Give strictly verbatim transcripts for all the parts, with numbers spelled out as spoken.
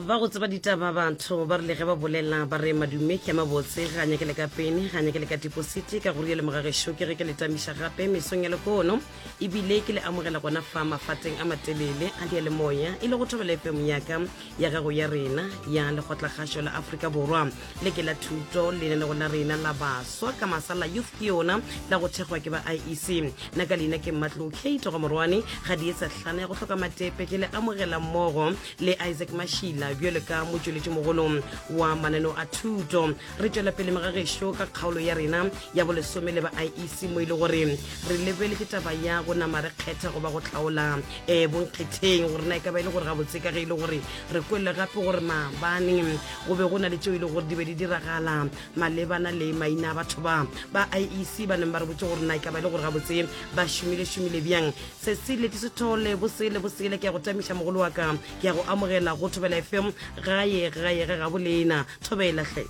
Ba go tseba ditaba batho ba rile ge ba bolela ba re madume ke a mabotse, ga nyake le ka pene, ga nyake le ka depositi. Ka go rialo mogagešo ke ge ke le tamiša gape mesong ya lekono, ebile ke le amogela gona fa mafateng a matelele a diyalemoya e le go Thobela F M yaka ya gago ya rena ya Lekgotlakgašo la Afrika Borwa. Le ke la thuto lenanego la rena la baswa ka masala youth ke yona la go thekgwa ke ba I E C. Nna ka leina ke Mmatlou Kate ga Morwane ga di etsa hlana ya go hloka matepe, ke le amogela mmogo le Isaac Mashila bjalo ka motšweletši mogolo wa mananeo a thuto. Re tšwela pele megagešo ka kgaolo ya rena ya bolesome le ba I E C mo e le gore re lebeletše taba ya go nama re kgetha goba go hlaola um bonkgetheng gore na e ka ba e le gore gabotse ka ge e le gore re kwele gape gore maabane go be go na le tšeo e le gore di be di diragala malebana le maina a batho ba ba I E C ba neng ba re botse gore na e ka ba e le gore gabotse ba šomile šomile bjang. Se se leti sethole bosele bosele ke ya go tamiša mogolo wa ka, ke ya go amogela go Thobela F M gae gae ga gabo lena. Thobela hle.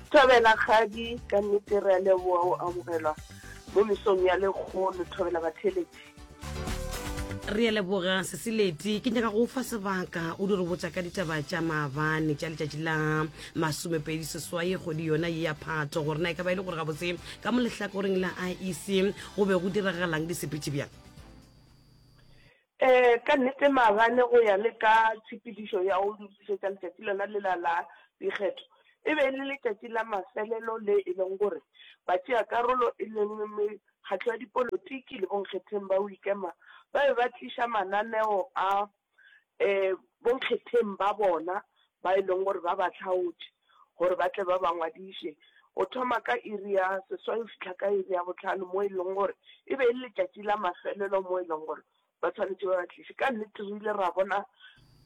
Thobela kgadi, ka nnete re a leboga go amogelwa mo mesong ya lekgono. Thobela batheletši. Re a leboga Sesileti, ke nyaka go fa sebaka o di re botša ka ditaba tša maabane tša letšatši la masomepedi seswai kgwedi yona ye ya Phato, gore na e ka ba e le gore gabotse ka mo lehlakoreng la I E C go be go diragalang di sepetše bjang? Eh, ka nnete maabane go ya le ka tshepedišo ya go lokišetša letšatši lona lela la dikgetho, e be e le letšatši la mafelelo le e leng gore batšeakarolo e leng mekgatlo ya dipolotiki le bonkgetheng ba go ikema ba be ba tliša mananeo a um bonkgetheng ba bona ba e leng gore ba ba hlaotše gore ba tle ba ba ngwadiše go thoma ka iri ya seswai go fihla ka iri ya bohlano, mo e leng gore e be e le letšatši la mafelelo mo e leng gore ba tshwanetše ba ba tliše. Ka nnete re ile ra bona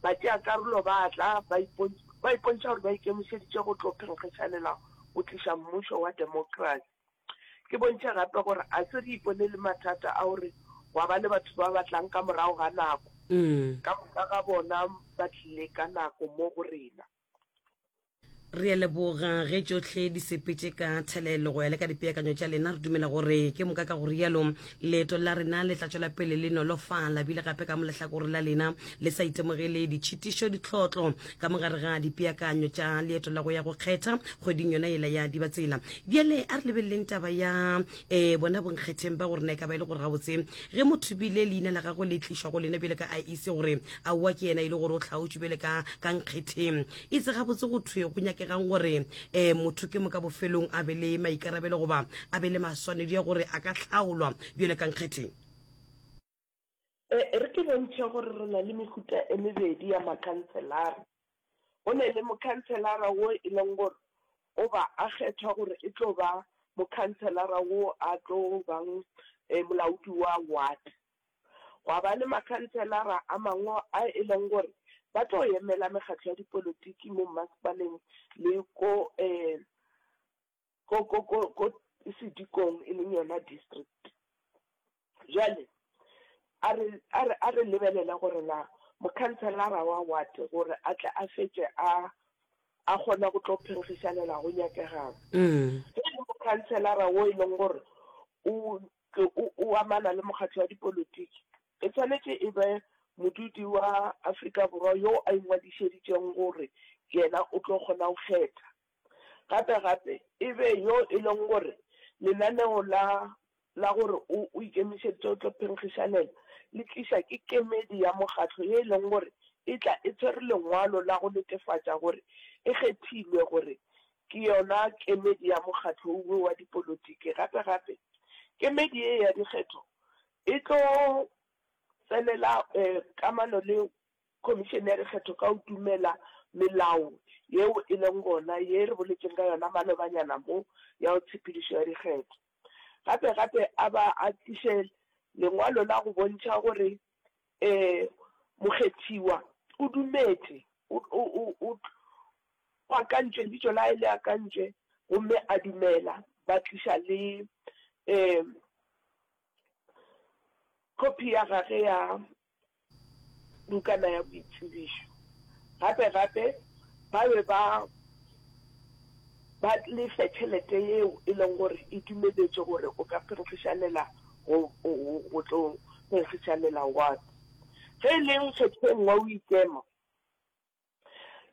batšeakarolo ba tla ba ba ipontšha gore ba ikemišeditše go tlo phenkgišanela go tliša mmušo wa democracy. Ke bontšhe gape gore a se re ipone le mathata a gore gwa ba le batho ba batlang ka morago ga nako. Ka moka ga bona ba tlile ka nako mo go rena. Re a leboga ge tšohle di sepetše ka thelelo go ya le ka dipeakanyo tša lena. Re dumela gore ke moka ka go rialo leeto la rena le tla tšwela pele le nolofala, bile gape ka mo lehlakore la lena le sa itemogele ditšhitišo ditlhotlo ka mogare ga dipeakanyo tša leeto la go ya go kgetha kgweding yona yela ya Dibatsela. Bjale a re lebeleleng taba ya um bona bonkgetheng ba gore na e ka ba e le gore gabotse ge motho bile leina la gagwe le tlišwa go lena bjale ka I E C gore aowa ke yena e le gore o hlaotšwe bjale ka ka nkgetheng, e se gabotse go thwe go nyakegang gore um motho ke moka bofelong a be le maikarabelo goba a be le maswanedi ya gore a ka hlaolwa bjale ka nkgetheng? E re ke bontšhe gore re na le mehuta e mebedi ya makhanselara. Go ne le mokhanselara wo e leng gore o ba a kgethwa gore e tlo ba mokhanselara wo a tlo bang molaodi wa ward. Gwa ba le makhanselara a mangwe a e leng gore ba tlo emela mekgatlo ya dipolotiki mo mmasepaleng le ko um ko ko ko ko sedikong e leng yona district. Jwale a re a re a re lebelele gore na mokhanselara wa ward gore a tle a fetše a a kgona go tlo phenkgišanela go nyakegang. Ge e le mokhanselara wo e leng gore o o o amana le mokgatlo wa dipolotiki, e tshwanetše e be modudi wa Afrika Borwa yo a ingwadišeditšeng gore yena o tlo kgona go kgetha. Gape gape e be yo e leng gore lenaneo la la gore o o ikemišeditše go tlo phenkgišanela le tliša ke kemedi ya mokgatlo ye e leng gore e tla e tshwere lengwalo la go netefatša gore e kgethilwe gore ke yona kemedi ya mokgatlo wo wa dipolotiki. Gape gape kemedi ye ya dikgetho e tlo tsenela um kamano le khomišene ya dikgetho ka go dumela melao yeo e leng gona ye re boletšeng ka yona malobanyana mo ya go tshepedišo ya dikgetho. Gape gape a ba a tliše lengwalo la go bontšha gore um mokgethiwa o dumetše o o o o akantšwe lebitso la hae le akantšwe gomme a dumela, ba tliša le um copy ya gage ya bukana ya boitsebišo. Gape gape ba be ba ba lefe tšhelete yeo e leng gore e dumeletše gore o ka phenkgišanela go go tlo phenkgišanela ward. Ge e le nkgetheng wa o ikema,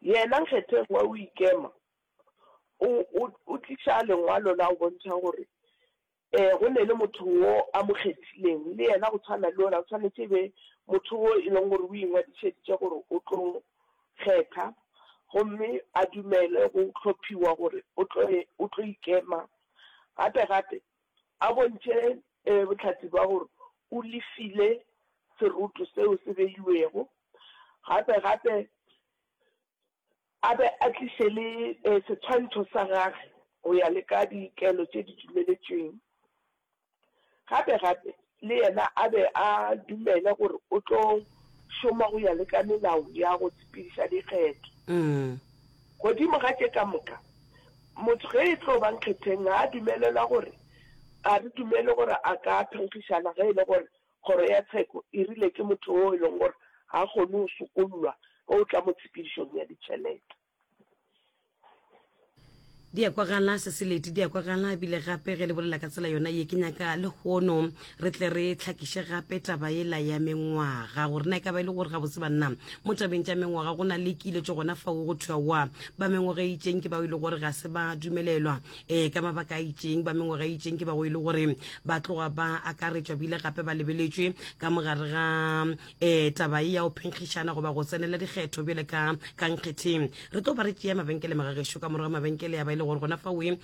Yena nkgetheng wa go ikema o, o, o tliša lengwalo la go bontšha gore um go ne le motho wo a mo kgethileng, le yena go tshwana le yola o swanetše e be motho wo e leng gore o ingwadišeditše gore o tlo kgetha, gomme a dumele go hlophiwa gore o tlo, o tlo ikema. Gape gape a bontšhe um bohlatse bja gore o lefile seroto seo se beilwego. Gape gape a be a tliše le setshwantšho sa gage go ya le ka dikelo tše di dumeletšweng. Gape gape le yena a be a dumele gore o tlo šoma go ya le ka melao ya go sepediša dikgetho. Godimo ga tše ka moka, motho ge e tlo ba nkgetheng ga a dumelelwa gore, ga re dumele gore a ka phenkgišana ge e le gore kgoro ya tsheko e rile ke motho wo e leng gore ga a kgone go sokollwa ge o tla mo tshepedišong ya ditšhelete. Di a kwagala, Seseleti, di a kwagala. Ebile gape ge le bolela ka tsela yona ye, ke nyaka lehono re tle re hlakiše gape taba yela ya mengwaga, gore na e ka ba e le gore gabotse banna mo tabeng tša mengwaga go na le kiletšo gona fao go thwe wa ba mengwaga e itšeng ke bao e le gore ga se ba dumelelwa um ka mabaka a itšeng, ba mengwaga e itšeng ke bao e le gore ba tloga ba akaretšwa bile gape ba lebeletšwe ka mogare ga um taba ye ya go phenkgišana goba go tsenela dikgetho bjale ka ka nkgetheng. Re tlo ba re tšea mabenkele magagešo ka morago ga mabenkele ya ba e le gore gona faoe um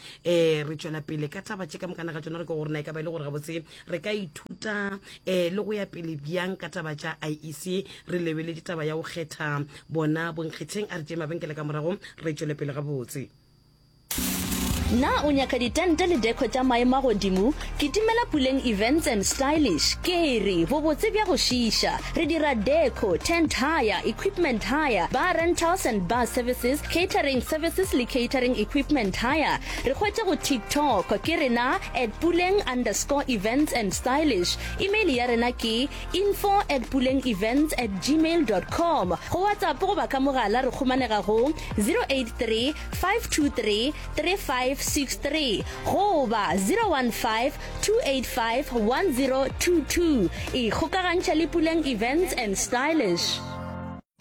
re tšwela pele ka taba tše ka mokana ga tšona, re ke gore na e ka ba e le gore gabotse re ka ithuta um le go ya pele bjang ka taba tša I E C, re lebeletše taba ya go kgetha bona bonkgetheng. A re tšee mabenkele ka morago re tšwele pele gabotse. Na o nyaka ditente le deco tša maemo a godimo? Kitimela Puleng Events and Stylish. Ke re, bobotse bja go šiiša. Re dira deco, tent hire, equipment hire, bar rentals and bar services, catering services le catering equipment hire. Re hwetše go TikTok, ke rena at Puleng underscore events and stylish. Email ya rena ke info at puleng events at gmail dot com. Go WhatsApp goba ka mogala re khumanega go zero eight three, five two three, three five six three goba zero one five, two eight five, one zero two two. Ikgokagantšha le Puleng Events and Stylish.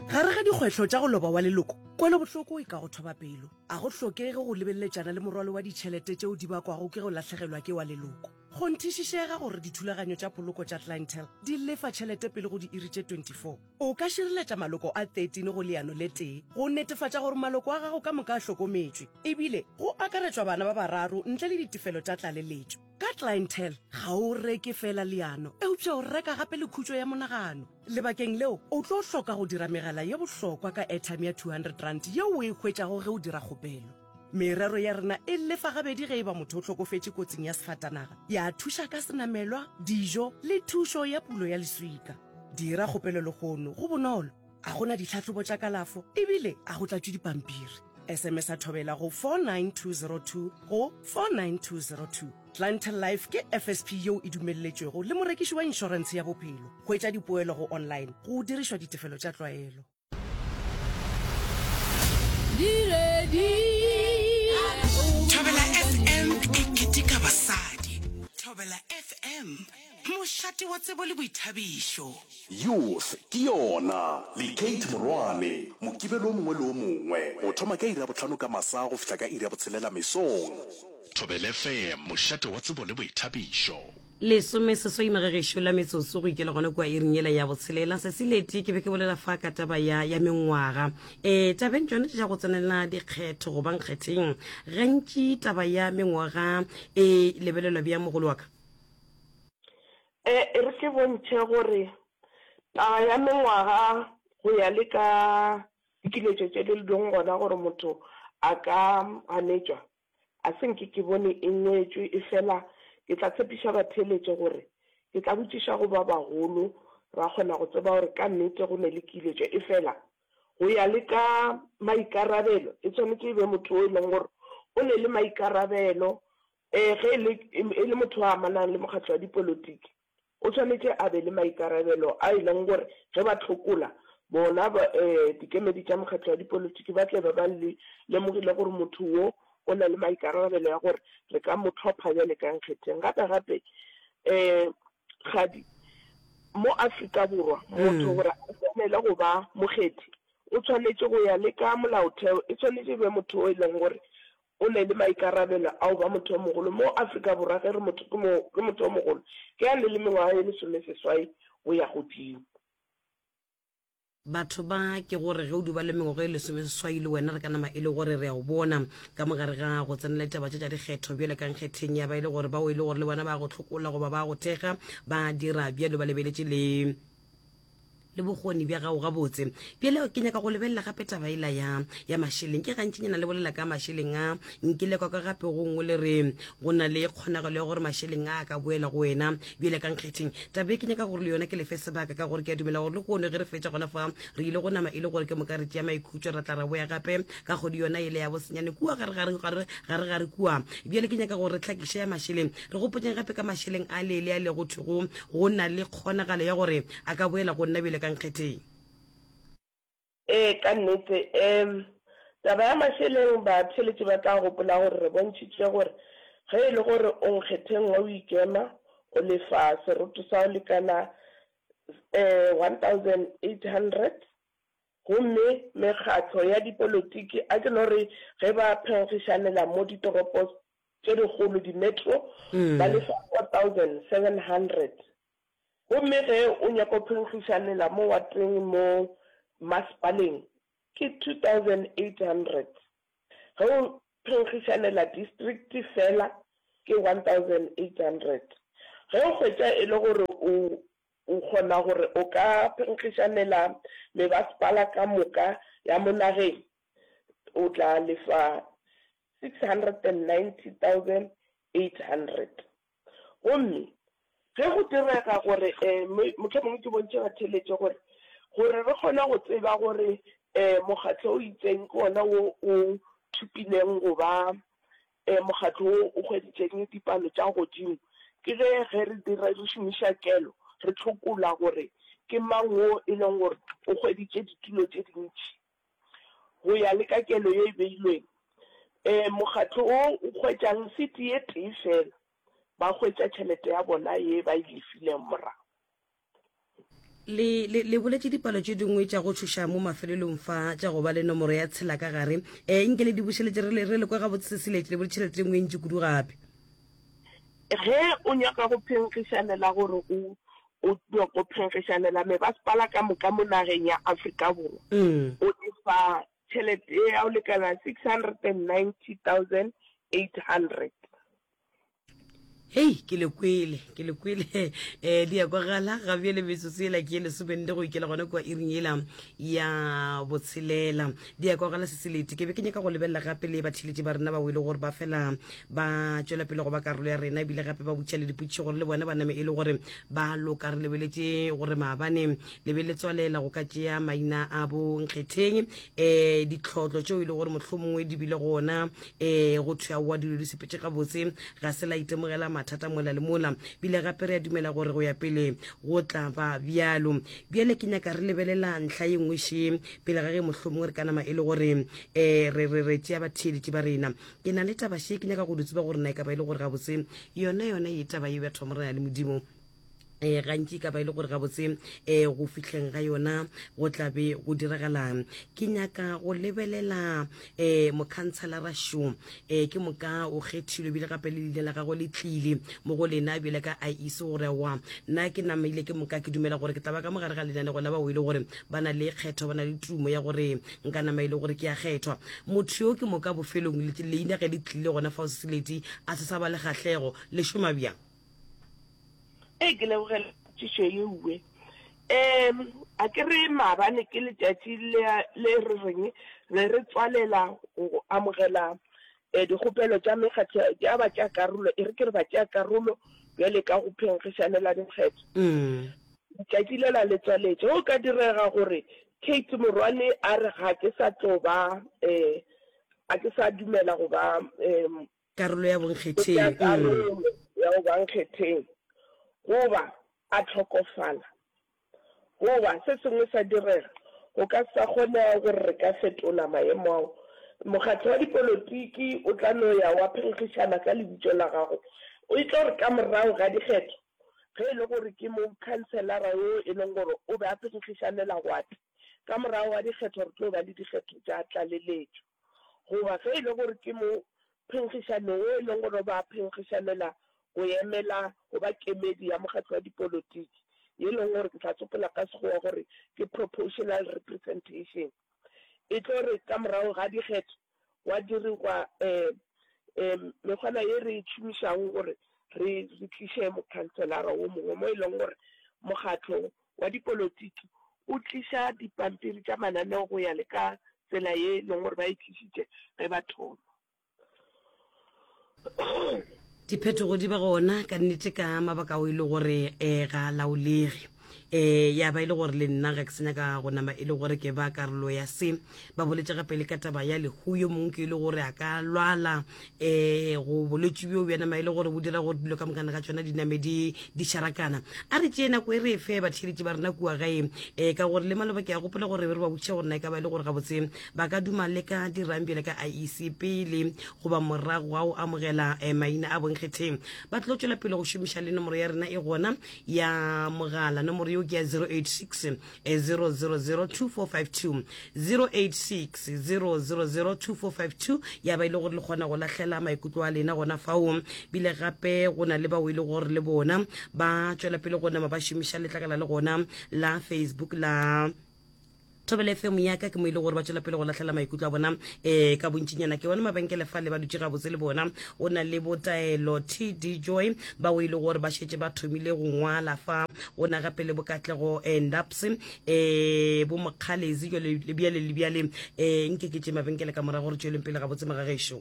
Gare ga dikgwetlho tša go loba wa leloko, kwelobohloko e ka go thoba pelo. A go hlokege go lebeleletšana le morwalo wa ditšhelete tšeo di bakwago ke go lahlegelwa ke wa leloko. Kgonthišišega gore dithulaganyo tša poloko tša Clientele di lefa tšhelete pele go diiri tše twenty-four. O ka šireletša maloko a thirteen go leano le tee go netefatša gore maloko a gago ka moka a hlokometšwe, ebile go akaretšwa bana ba bararo ntle le ditefelo tša tlaleletšo. Ka Clientele, ga o reke feela leano, eupša o reka gape le khutšo ya monagano. Lebakeng leo, o tlo hloka go dira megala ye bohlokwa ka airtime ya two hundred rand yeo o e hwetšago ge o dira kgopelo. Merero ya rena e lefa gabedi ge e ba motho o hlokofetše kotsing ya sefatanaga, ya thuša ka senamelwa, dijo le thušo ya pulo ya leswika. Dira kgopelo lehono, go bonolo, a go na ditlhahlobo tša kalafo ebile a go tlatšwe dipampiri. S M S a thobela go four nine two zero two go four nine two zero two. Clientele Life ke F S P yeo e dumelletšwego le morekiši wa inšorentshe ya bophelo. Hwetša dipoelo go online go dirišwa ditefelo tša tlwaelo. Thobela F M e keteka basadi. Thobela F M, mošate wa tsebo le boithabišo. Youth ke yona le Kate Morwane Mokibelo o mongwe le o mongwe go thoma ka iri ya bohlano ka masa go fihla ka iri ya botshelela mesong. Thobela F M, mošate wa tsebo le boithabišo. Lesome seswai magagešo la metsotso go ikela gona kua iring yela ya botshelela. Sesileti, ke be ke bolela fa ka taba ya, ya mengwaga. E, tabeng tšona tša go tsenela dikgetho goba nkgetheng, gantši taba ya mengwaga e lebelelwa bjang, mogolo wa ka? E, e re ke bontšhe gore taba ya mengwaga go ya le ka dikiletšo tše di leng gona gore motho a ka ganetšwa, a se nke ke bone e ngwetšwe, efela ke tla tshepiša batheeletše gore ke tla botšiša go ba bagolo ra kgona go tseba gore ka nnete go ne le kiletšo. Efela go ya le ka maikarabelo, e tshwanetše e be motho o e leng gore o ne le maikarabelo, eh, ge e le, e le motho a amanang le mokgatlo wa dipolotiki, o tshwanetše a be le maikarabelo a e leng gore ge ba tlhokola bona ba, eh, dikemedi tša mokgatlo wa dipolotiki ba tle ba ba le lemogile gore motho wo o na le maikarabelo ya gore re ka mo tlhopha bjale ka nkgetheng. Gape gape, eh, Kgadi, mo Afrika Borwa, motho gore a tsenele go ba mokgethi o tshwanetše go ya le ka molaotheo, e tshwanetše e be motho o e leng gore o ne le maikarabelo a go ba motho o mogolo. Mo Afrika Borwa ge re motho ke mo ke motho o mogolo ke a ne le mengwaga ye lesomeseswai go ya godimo. Batho ba ke gore ge o duba le mengwaga e lesomeseswai le wena re ka nama e le gore re a o bona ka mogare ga go tsenela ditaba tše tša dikgetho bjale ka nkgetheng ya ba e le gore bao e le gore le bona ba go hlokola goba ba go thekga ba dira bjalo ba lebeletše le le bokgoni bja gago gabotse. Bjale ke nyaka go lebelela gape taba ela ya, ya mašeleng. Ke gantšinyana le bolela ka mašeleng a. Nkile kwa ka gape go nngwe le re go na le kgonagalo ya gore mašeleng a a ka boela go wena bjale ka nkgetheng. Taba e ke nyaka gore le yona ke lefe sebaka ka gore ke a dumela gore lehono ge re fetša gona fa re ile go nama e le gore ke moka re tšea maikhutšo ra tla ra boya gape ka kgwedi yona yela ya bosenyane kua gare gare gare gare gare kua. Bjale ke nyaka gore re hlakiše ya mašeleng. Re gopotšeng gape ka mašeleng a le le a le go thwego go na le kgonagalo ya gore a ka boela go nna bjale ka nkgetheng. Ee, ka nnete. Um taba ya mašeleng, batheeletši ba tla gopola gore re bontšhitše gore ge e le gore o nkgetheng wa o ikema, o lefa seroto sa go lekana um one thousand eight hundred, gomme mekgatlo ya dipolotiki, a ke no re ge ba phenkgišanela mo ditoropo tše dikgolo, di-metro, ba lefa four thousand seven hundred. Gomme ge o nyaka go phenkgišanela mo wateng mo masepaleng ke two thousand eight hundred, ge o phenkgišanela district fela ke one thousand eight hundred. Ge o hwetša e le gore o o kgona gore o ka phenkgišanela mebasepala ka moka ya mo nageng o tla lefa six hundred and ninety thousand eight hundred. Gomme ge go direga gore, um mohlomongwe ke bontšhe batheeletši gore, gore re kgone go tseba gore um mokgatlo o itseng ke wona wo o thopileng go ba um mokgatlo wo o hweditšeng dipalo tša godimo, ke ge ge re dira, re šomiša kelo, re hlokola gore ke mang wo e leng gore o hweditše ditulo tše dintši. Go ya le ka kelo ye e beilweng, um mokgatlo wo o hwetšang sete ye tee fela, ba hwetša tšhelete ya bona ye ba e lefileng morago. Le, le, le boletše dipalo tše dingwe tša go tšhoša mo mafelelong fa, tša go ba le nomoro ya tshela ka gare. E, nke le di bušeletše re le, re le kwe gabotse se se letše, le boletše tšhelete e nngwe e ntši kudu gape. Ge o nyaka go phenkgišanela gore o, o nyaka go phenkgišanela mebasepala ka moka mo nageng ya Afrika Borwa, o lefa tšhelete ya go lekana six hundred and ninety thousand eight hundred. Hei, ke le kwele, ke le kwele. Eh, di ya kwagala ga bjale metsotso yela ke ye lesomenne go ikela gona kua iring yela ya botshelela. Di ya kwagala seselete. Ke be ke nyaka go lebelela gape le batheeletši ba rena ba o e le gore ba fela ba tšwela pele go ba karolo ya rena ebile gape ba botša le dipotšišo gore le bona ba name e le gore ba loka. Re lebeletše gore maabane le be le tswalela go ka tšea maina a bo nkgetheng um ditlhotlo tšeo e le gore mohlomongwe di bile gona um go thwe aowa dilo di sepetše gabotse ga se la itemogela mathata mola le mola bile gape re a dumela gore go ya pele go tla ba bjalo. Bjale ke nyaka re lebelela ntlha ye nngwe še pele ga ge mohlomongwe re ka nama e le gore um re re re tšea batheeletši ba rena. Ke na le taba še ke nyaka go di tseba gore na e ka ba e le gore gabotse yona yona ye taba ye batho ba Morena le Modimo um gantši e ka ba e le gore gabotse um go fihleng ga yona go tla be go diragalang. Ke nyaka go lebelela um mokhantshelara šo um ke moka o kgethilwe ebile gape le leina la gagwe le tlile mo go lena bjale ka I E C gore aowa nna ke namaile ke moka ke dumela gore ke tla ba ka mogare ga lenanego la bao e le gore ba na le kgetho ba na le tumo ya gore nka nama e le gore ke a kgethwa. Motho yo ke moka bofelong leina ge le tlile gona fao Seseleti a se sa ba le kgahlego. Le šoma bjang? Ee, ke lebogela potšišo yeuwe. Um, a ke re maabane ke letšatši le, le re reng re re tswalela go amogela eh, dikgopelo tša mekgatlo ya batšeakarolo, e re ke re batšeakarolo bjale ka go phenkgišanela dikgetho. Mm. Letšatši lela le tswaletše. Go ka direga gore Kate Morwane a re ga ke sa tlo ba eh, a ke sa dumela go ba eh, Karolo ya Go tšea bonkgetheng. Mm. karolo ya go ba nkgetheng, goba a hlokofala, goba se sengwe sa direga, go ka se sa kgonega gore re ka fetola maemo ao. Mokgatlo wa dipolotiki o tla no ya wa phenkgišana ka lebitso la gago. E tlo re ka morago ga dikgetho, ge e le gore ke mokhanselara yo e leng gore o be a phenkgišanela wate, Ka morago ga dikgetho re tlo ba le dikgetho tša tlaleletšo. Goba ge e le gore ke mo phenkgišanong wo e leng gore ba phenkgišanela go emela go ba kemedi ya mokgatlo wa dipolotiki, ye e leng gore ke tla tsopola ka Sekgowa gore ke proportional representation, e tlo re ka morago ga dikgetho gwa dirigwa um mekgwana ye re e šomišago gore re re tliše mokhanselara wo mongwe mo e leng gore mokgatlo wa dipolotiki o tliša dipampiri tša mananeo go ya le ka tsela ye e leng gore ba e tlišitše ge ba thoma. Diphetogo di ba gona ka nnete ka mabaka ao e le gore um ga a laolege. Um ya ba e le gore le nna ga ke sa nyaka go nama e le gore ke ba karolo ya se. Ba boletše gape le ka taba ya lehu, yo mongwe ke e le gore a ka lwala um go bolwetši bjo bja nama e le gore bo dira gore dilo ka mokana ga tšona di name di di šarakana. A re tšee nako e re e fe batheeletši ba rena kua gae um ka gore le maloba ke a gopola gore be re ba botšiša gore na e ka ba e le gore gabotse ba ka duma le ka dirang bjale ka I E C pele goba morago ga go amogela eh, maina a bonkgetheng. Ba tlo tšwela pele go šomiša le nomoro ya rena e gona ya mogala. Nomoro yeo ke ya zero eight six, zero zero zero two four five two, zero eight six, zero zero zero two four five two, ya ba e le gore le kgona go lahlela maikutlo a lena gona fao. Bile gape go na le bao e le gore le bona ba tšwela pele go nama ba šomiša letlakala le gona la Facebook la Thobela F M ya ka, ke mo e le gore ba tšwela pele go lahlela maikutlo a bona um ka bontšinyana. Ke bona mabenkele fa le ba dutše gabotse le bona. O na le botaelo T D Joy bao e le gore ba šetše ba thomile go ngwala fa. O na gape le bokatlego Ndaps, um bo Mokgalezi jwale le bjale le bjale. Um nke ke tše mabenkele ka morago re tšweleng pele gabotse mogagešo.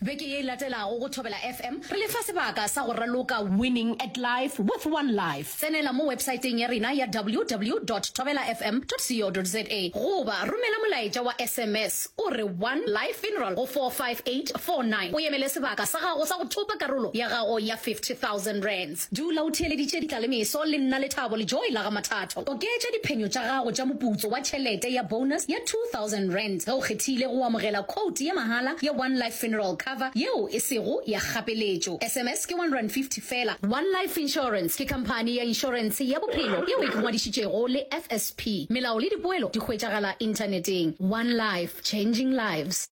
Beke ye e latelago go Thobela F M re le fa sebaka sa go raloka Winning at Life with One Life. Tsenela mo websaeteng ya rena ya W W dot thobela F M dot co dot za goba romela molaetša wa S M S o re One Life Funeral go four five eight four nine o emele sebaka sa gago sa go thopa karolo ya gago ya fifty thousand rands. Dula o theeleditše Ditlalemeso le nna Lethabo le Joy la ga Mathatho. Oketša diphenyo tša gago tša moputso wa tšhelete ya bonus ya two thousand rands ge o kgethile go amogela quote ya mahala ya One Life Funeral Cover yeo e sego ya kgapeletšo. S M S ke one rand fifty fela. One Life Insurance ke khamphani ya inšorentshe ya bophelo yeo e ngwadišitšego le F S P. Melao le dipoelo di hwetšagala inthaneteng. One Life, changing lives.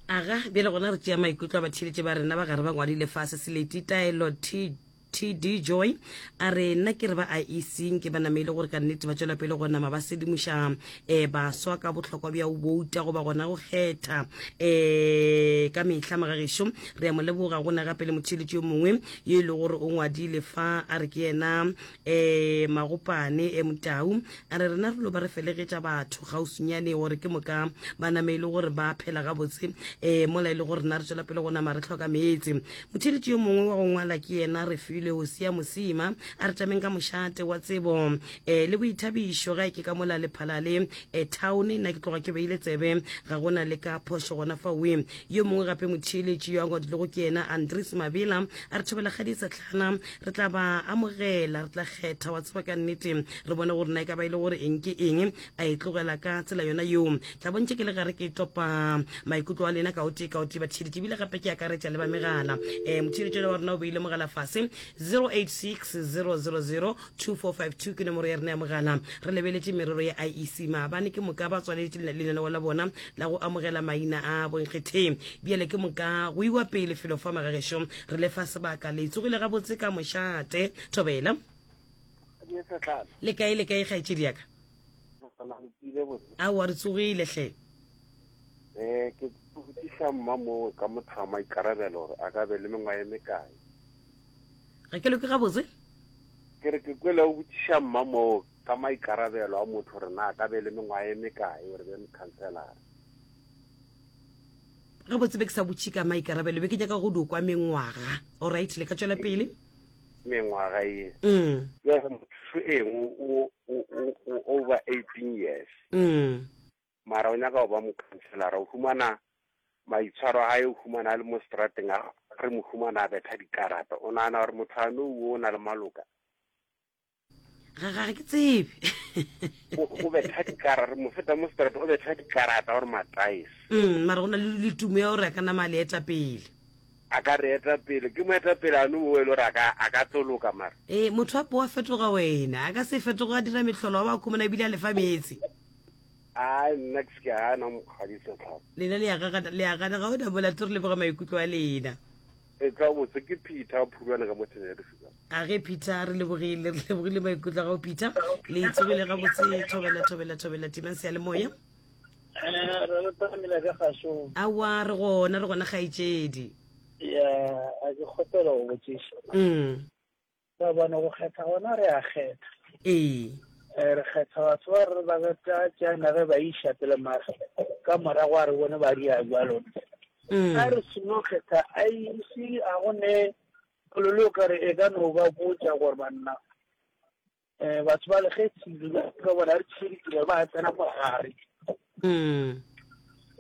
Aga, bjale gona re tšea maikutlo a batheeletši ba rena ba gare ba ngwadile fase Seleti Taelo T T D Joy a re nna ke re ba I E C nke ba namele gore ka nnete ba tšwela pele go nama ba sedimoša, eh, baswa ka bohlokwa bja go bouta goba gona go kgetha, eh, ka mehla. Magagešo re a mo leboga. Go na gape le motheeletši yo mongwe yo e le gore o ngwadile fa a re ke yena, eh, Magopane, eh, Motau a re rena re lo ba re felegetša batho kgauswinyane gore ke moka ba name e le gore ba phela gabotse, eh, mola e le gore rena re tšwela pele go nama re hloka meetse. Motheeletši yo mongwe wa go ngwala ke yena re file Hosea Mosima a re tšameng ka mošate wa tsebo, eh, le boithabišo ga e ke ka mola Lephalale, eh, town. Nna ke tloga ke beile tsebe ga gona le ka phošo gona faoe. Yo mongwe gape motheeletši yo a ngwadilego ke yena Andries Mabela a re thobela kgadi sehlana re tla ba amogela, re tla kgetha wa tseba ka nnete re bone gore na e ka ba e le gore eng ke eng a e tlogela ka tsela yona yeo. Tla bontše ke le gare ke topa maikutlo a lena ka o tee ka o tee batheeletši, ebile gape ke akaretša le ba megala. Eh, motheeletši wa rena o beile mogala fase zero eight six zero zero zero two four five two ke nomoro ya rena ya mogala. Re lebeletše merero ya I E C maabane, ke moka ba tswaletše lenaneo la bona la go amogela maina a bonkgetheng. Bjale ke moka go iwa pele felo fa magagešo re le fa sebaka. Le tsogile gabotse ka mošate Thobela. Le kae, le kae kgaetšedi ya ka? Aowa re tsogile hle. Eh, ke botšiša mma moo ka motho wa maikarabelo gore a ka be le mengwaga e mekae. Ga ke loke gabotse? Ke re ke kwele o botšiša mma moo ka maikarabelo a motho gore na a ka be le mengwaga e mekae gore be mokhanselara. Gabotse be ke sa botše ka maikarabelo, be ke nyaka go di kwa mengwaga. Alright, le ka tšwela pele. Mengwaga e. Mm. Bjale motho eng o, o, o, o over eighteen years. Mm. Mara o nyaka go ba mokhanselara, o humana maitshwaro a hae, o humana a le mo strateng, a re mo humana a betha dikarata. O nagana gore motho a no o na le maloka? Ga, ga ke tsebe. O, o betha dikarata, re mo feta mo strateng, o betha dikarata gore mataese. Mm, mara go na le le tumo ya gore a ka nama a le eta pele. A ka re eta pele, ke mo eta pele a no o e le gore a ka, a ka toloka mara. Eh, motho a po a fetoga wena, a ka se fetoga a dira mehlolo, wa ba khumana ebile a lefa meetse. Ai nna ke se ke gana mokgadi Setlhapa. Lena le ya gagana le ya gana ga ona molato re leboga maikutlo a lena. E tla botse ke Peter Phulwane ka mo Thenya ya Lefika. A ge Peter re lebogile re lebogile maikutlo a gago Peter. Le tsogile gabotse thobela thobela thobela timang seyalemoya. Eh, re le tlamela ka gašong. Aowa re gona re gona kgaetšedi. Ya, a ke kgopela go botšiša. Mm. Ka bone go kgetha gona re a kgetha. Ee. Eh, re kgetha batho ba re ba tla tšana ge ba iša pele mara ka morago a re bone ba dia jalo. Mm. A re seno kgetha a ise a go ne polelo o kare e ka no ba botša gore banna eh batho ba le kgethile ka bona re tšheditse ba tsena mo gare. Mm.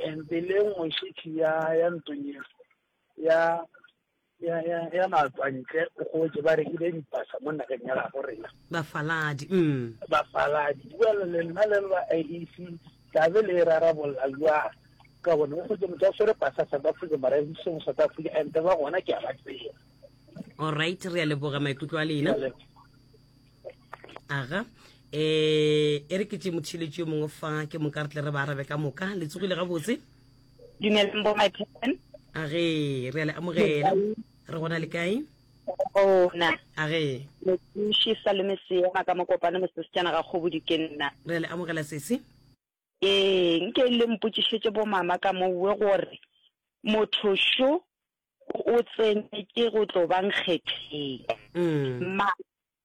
And le nngwe šetše ya ya ntong ya ya ya ya ya matswantle o gotse ba rekile dipasa mo nageng ya gabo rena. Bafaladi. Mm. Bafaladi. Jwale le nna le ba I E C tlabe le e rarabolla jwang? Ka bone o gotse motho a swere pasa South Africa mara e seng South Africa and ba gona ke a ba tseba. All right, re a leboga maikutlo a lena. Aga. Eh, e re ke tše motšheletši yo mongwe fa ke moka re tle re ba arabe ka moka. Le tsogile gabotse? Dumelang bo my pen. A ge, re a le amogela. Re gona le kae? Gona. A ge. Mothuši Salome Seema ka mokopano mosesejana ga Kgobodi ke nna. Re a le amogela sesi. Ee, nke le mpotšišetše bo mama ka mowe gore motho šo o tsenetše go tlo ba nkgetheng. Mm. Ma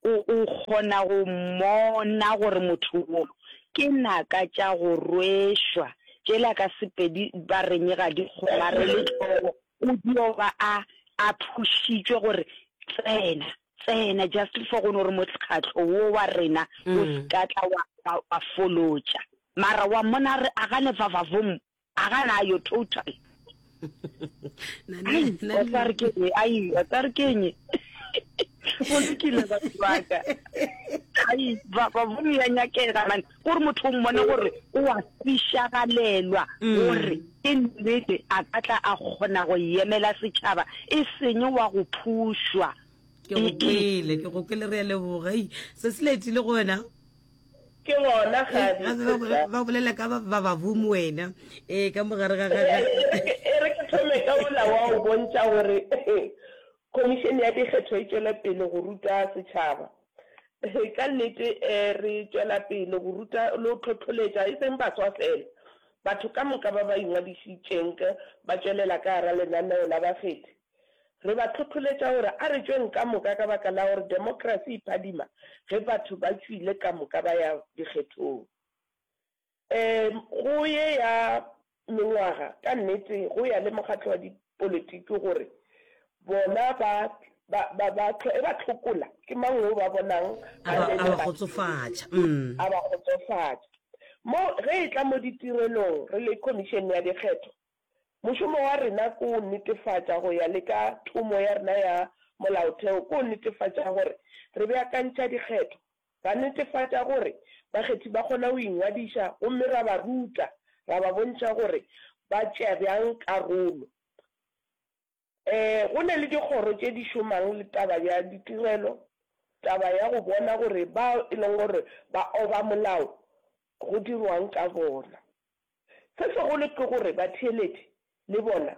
o, o kgona go mmona gore motho wo ke naka tša go rwešwa tšela ka Sepedi ba reng ga di kgomarele hlogo, o dio ba a, a phušitšwe gore tsena, tsena just for go no re mokgatlo wo wa rena o se ka tla wa, wa, wa folotša. Mara wa mmona a re a gane vavavoom, a gana a yo total. Ai, wa tla re ke eng? Ai, wa tla re ke eng? Go lokile batho ba ka. Ai, ba ba bo ya nyakega man. Gore motho o mmone gore o a fišagalelwa gore ke nnete a ka tla a kgona go emela setšhaba e seng wa go phušwa. Ke go kwele, ke go kwele re a leboga. Ei, se se letile gona. Ke gona, Kgadi. Ba, ba bolela ka ba, ba baboom wena. Ee, ka mogare ga, ga, ga. E re ke thome ka mola wa go bontša gore Khomišene ya Dikgetho e tšwela pele go ruta setšhaba. Ka nnete re tšwela pele go ruta le go hlohloletša e seng baswa fela, batho ka moka ba ba ingwadišitšeng ba tšwelela ka gara lenaneo la bakgethi. Re ba hlohloletša gore a re tšweng ka moka ka baka la gore demokrasi e phadima ge batho ba tšwile ka moka ba ya dikgethong. Um go ye ya mengwaga, ka nnete go ya le mokgatlo wa dipolitiki gore bona ba, ba, ba, ba, e ba hlokola, ke mang wo ba bonang A ba, a ba kgotsofatša. Mm. A ba kgotsofatša. Mo, ge e tla mo ditirelong, re le Khomišene ya Dikgetho, mošomo wa rena ke go netefatša go ya le ka thomo ya rena ya molaotheo, ke go netefatša gore re beakantšha dikgetho, ra netefatša gore bakgethi ba kgona go ingwadiša gomme ra ba ruta, ra ba bontšha gore ba tšea bjang karolo. Um go na le dikgoro tše di šomang le taba ya ditirelo, taba ya go bona gore bao e leng gore ba oba molao go dirwang ka bona. Se segolo ke gore batheeletši le bona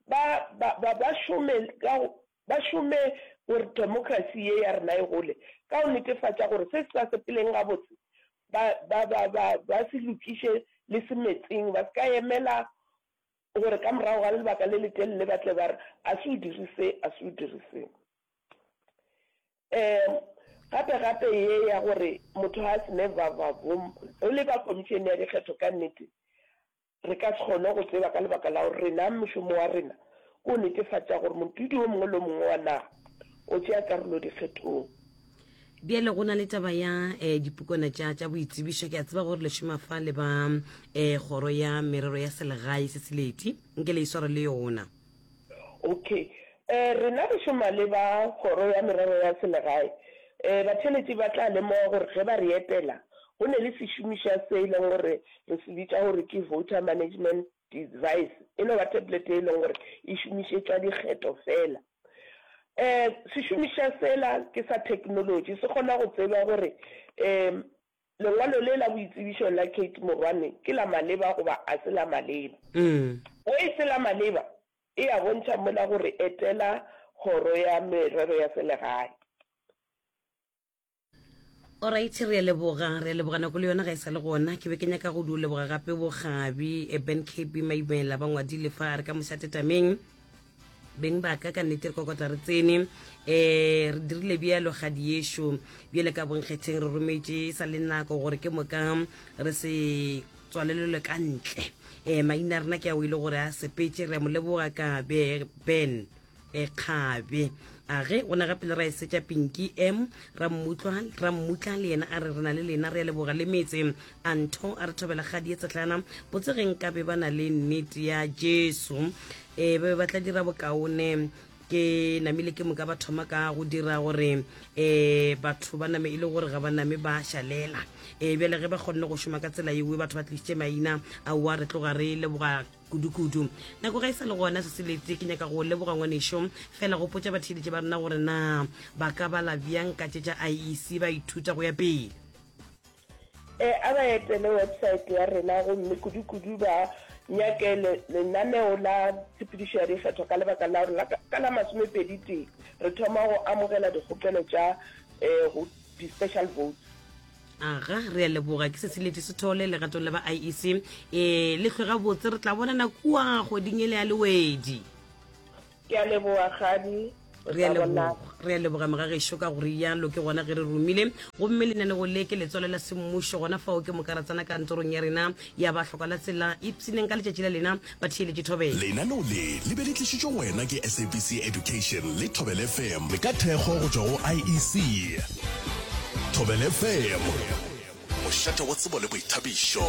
ba, ba, ba, ba šome ka go, ba šome gore demokrasi ye ya rena e gole ka go netefatša gore se se sa sepeleng gabotse ba, ba, ba, ba, ba se lokiše le semetseng, ba se ka emela gore ka morago ga lebaka le letelele ba tle ba re a se o dire se, a se o dire se. Um gape gape ye ya gore motho ga a se ne vavavoom, re le ba Khomišene ya Dikgetho ka nnete re ka se kgone go tseba ka lebaka la gore rena mošomo wa rena ke go netefatša gore modudi o mongwe le o mongwe wa naga o tšea karolo dikgethong. Bjale go na le taba ya eh, dipukwana tša tša boitsebišo. Ke a tseba gore le šoma fa le ba eh, kgoro ya merero ya selegae se seleti, nke le isware le yona. Okay. Eh, rena re šoma le ba kgoro ya merero ya selegae. Eh, batheeletši ba tla lemoga gore ge ba re etela go ne le sešomišwa se e leng gore re se bitša gore ke voter management device, e no ba tablet e leng gore e šomišetšwa dikgetho fela. Um sešomišwa sela ke sa technology, se kgona go tseba gore um Lengwalo le la boitsebišo la Kate Morwane ke la maleba goba a se la maleba. Ge e se la maleba, e a bontšha mola gore etela Kgoro ya Merero ya Selegae. Alright, re a leboga, re a leboga nako le yona ga e sa le gona. Ke be ke nyaka go di leboga gape bogabi eh, Ben K B Maimela ba ngwadile fa a re ka mošatetameng beng ba ka ka nnete re kokota re tsene um re dirile bjalo ga diešo bjale ka bonkgetheng re rometše e sa le nako gore ke moka re se tswalelelwe ka ntle um maina a rena ke a o ile gore a sepetse re a mo leboga ka Ben e kgabe a ge o na gape le ra e setša Pinki M Rammutlwa Rammutla le yena a re re na le lena re a leboga le metse a ntho a re thobela kgadi e tsetlana botse ge nkabe ba na le nnete ya Jesu e ba be ba tla dira bokaone ke namile ke moka ba thoma ka go dira gore um batho ba name e le gore ga ba name ba šalela um bjale ge ba kgonne go šoma ka tsela yewe batho ba tlišitše maina aowa re tloga re leboga kudu-kudu. Nako ga e sa le gona, se se lete. Ke nyaka go leboga ngwanešo. Fela gopotša batheeletši ba rena gore na ba ka bala bjang ka tše tša I E C ba ithuta go ya pele. E, a ba etele website ya rena gomme kudu-kudu ba nyake le, lenaneo la tshepedišo ya dikgetho ka lebaka la gore la, ka la masomepedi tee re thoma go amogela dikgopelo tša e, go di-special votes. Aga, re a leboga. Ke Sesiletše Sethole legatong la ba I E C. E, le hlwe gabotse, re tla bonana kua kgweding ele ya Lewedi. Ke a leboga, Kgadi. Re Re a tla bonana. leboga, re a leboga mogagešo ka go rialo ke gona ge re romile. Gomme lenanego le ke letswalo la semmušo gona fao ke moka ra tsena kantorong ya rena ya ba hloka la tsela. Ipshineng ka letšatši la lena batheeletši thobela. Lenaneo le le be le tlišitšwe go wena ke S A B C Education le Thobela F M ka thekgo go tšwa go I E C. Thobela F M, mošate wa tsebo le boithabišo.